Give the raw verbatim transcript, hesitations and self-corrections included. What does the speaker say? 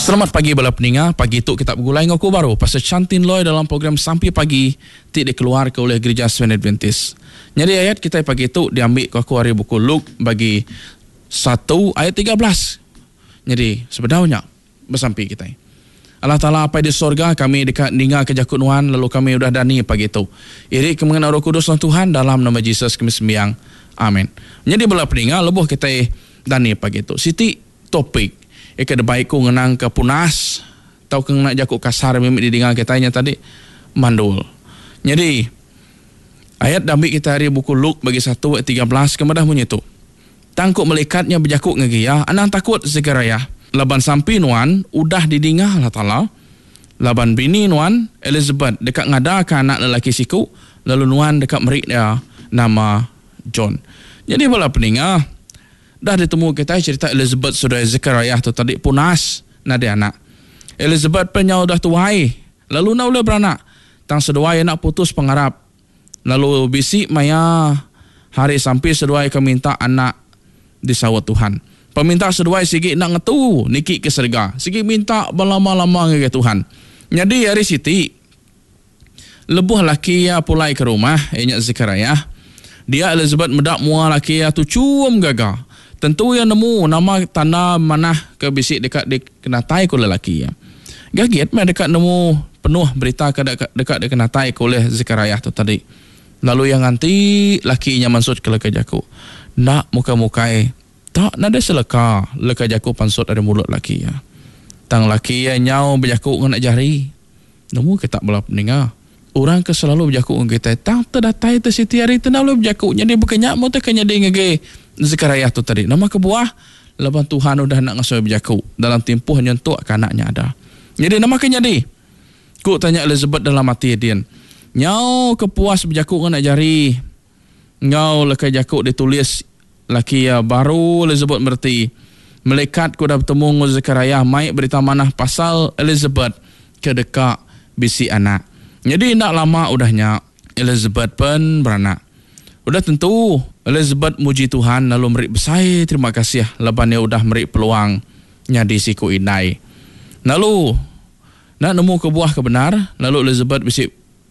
Selamat pagi bala peninga, pagi tu kita begulai enggau aku baru Pastor Chantin Loy dalam program Sampi Pagi ti dikeluarka ulih Gerija Seventh Adventist. Nyadi ayat kitai pagi tu diambi ku aku ari buku Luke bagi satu ayat tiga belas. Nyadi sebedau nya besampi kitai. Allah Taala Apai di sorga, kami deka ningaka jaku nuan lalu kami udah dani pagi tu. Iri ke mengena Roh Kudus nuan Tuhan dalam nama Jesus kami sembiang. Amin. Nyadi bala peninga lebuh kitai dani pagi tu siti topik ika debai ku ngenang ke punas tauka ngena jaku kasar mimit didinga kitai nya tadi mandul. Nyadi ayat diambi kitai ari buku Luke bagi satu ayat tiga belas ke madah munyi tu. Tang ku melikat nya bejaku ngagai iya, anang takut Zekariah, laban sampi nuan udah didinga Allah Taala. Laban bini nuan Elizabeth deka ngadaka anak lelaki siku, lalu nuan deka meri iya nama John. Nyadi bala peninga, dah ditemu kitai cerita Elizabeth seduai Zekariah tu tadi punas nadai anak. Elizabeth pen nyau udah tuai lalu enda ulih beranak. Tang seduai enda putus pengarap. Lalu bisi maya hari sampi seduai ke minta anak disaut Tuhan. Peminta seduai sigi enda ngetu niki ke serega. Sigi minta belama-lama ngagai Tuhan. Nyadi hari siti, lebuh laki iya pulai ke rumah, iya nya Zekariah, dia Elizabeth meda mua laki iya tuchum gaga. Tentu iya nemu nama tanda manah ke bisi deka dikenatai ku lelaki iya. Gagit meh deka nemu penuh berita ke deka, deka dikenatai ku ulih Zekariah tu tadi. Lalu iya nganti laki nya mansut ke leka jaku. Enda mukai-mukai, tak nadai seleka leka jaku pansut ari mulut laki iya. Tang laki iya nyau bejaku ngena jari. Nemu kita bala peninga. Orang ke selalu bejaku dengan kitai, tang terdatai te siti hari te enda boleh bejaku. Nyadi bukan nya mu te ke nyadi ngagai Zekariah tu tadi. Nama kebuah? Laban Tuhan udah nak ngasuh bejaku dalam tempoh nyentuk ke anaknya ada. Jadi nama ke nyadi? Ku tanya Elizabeth dalam ati din. Nyau kepuas bejaku ngena jari enggau leka jaku ditulis laki iya, baru Elizabeth mereti. Malaikat ku udah betemu enggau Zekariah mai berita manah pasal Elizabeth ke deka bisi anak. Jadi enda lama udah nya Elizabeth pen beranak. Udah tentu Elizabeth muji Tuhan lalu meri besai terima kasih laban iya udah meri peluang nyadi siku indai. Lalu nak nemu kebuah ke benar, lalu Elizabeth bisi